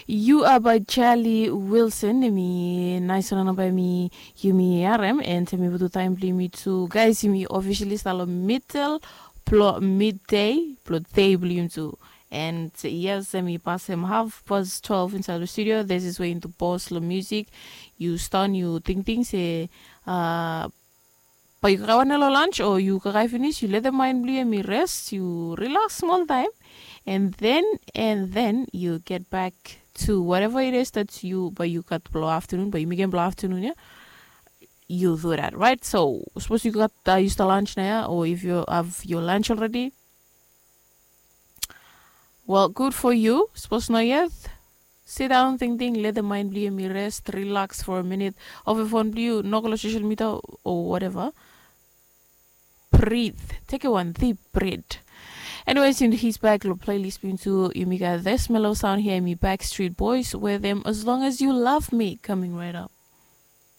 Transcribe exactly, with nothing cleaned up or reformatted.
You are by Charlie Wilson. Em i nais wan namba em i yumi harem, and em i butu taim bilong yumi tu guys, yumi officially start long middle plo midday plo day bilong yumi tu. And yes, em i pasem half past twelve inside the studio. This is where in the boss lo music. You stun, you think things eh, uh, But you kakae wan lo lunch or you kakae finish, you let the mind blue and me rest, you relax small time, and then and then you get back to whatever it is that you, but you got blow afternoon, but you make blow afternoon, yeah. You do that, right? So suppose you got uh, you start lunch now, yeah? Or if you have your lunch already, well, good for you. Suppose not yet. Sit down, think, think, let the mind blue me rest, relax for a minute. Off your phone blue, no go to social media or whatever. Breathe. Take a one deep breath. Anyways, in his back lo playlist bin tu, yumi got this mellow sound here, me Backstreet Boys with them, As Long As You Love Me, coming right up.